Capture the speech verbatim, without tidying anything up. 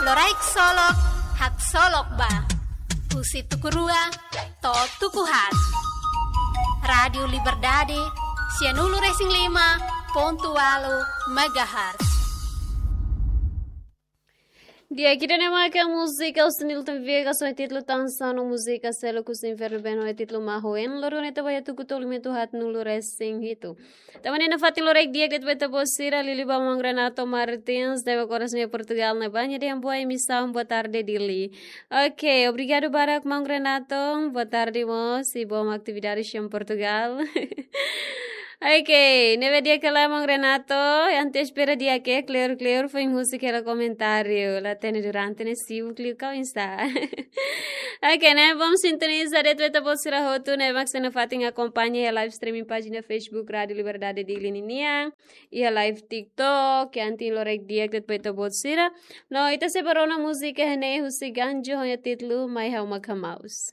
Loraik Solok, Haksolok Ba. Husi tuku rua to'o tuku haat. Rádiu Liberdade, sianulu-resin-lima pontu ualu megahertz. Di'ak, ida-ne'e maka múzika husi Nilton Viegas ho títulu Tansa no múzika Seluk husi Infernu Ben ho títulu Mahuen, loron ne'e ita ba iha tuku tolunulu-resin-hitu. Tanba ne'e nafatin loraik di'ak de'it ba ita-boot sira, liuliu ba maun Renato Martins, ne'ebé koras nia Portugal ne'ebá, nia dehan boa emissão, boa tarde Dili. Ok, obrigadu barak maun Renato, boa tarde mós, i bom atividades em Portugal. Ok, ne'ebé di'ak ka lae maun Renato, entaun espera di'ak, kleur-kleur foin husik hela komentáriu, la hatene durante ne'e sibuk liu ka oinsá. Ok, ne'e bom, sintoniza de'it ba ita-boot sira hotu ne'ebé mak sei nafatin akompaña iha live streaming pájina Facebook Rádiu Liberdade Dili ninian, iha live TikTok, entaun loraik di'ak de'it ba ita-boot sira. No ita sei bá rona múzika ida-ne'e husi Ganjo ho nia títulu Mai Ha'u Mak Hamaus.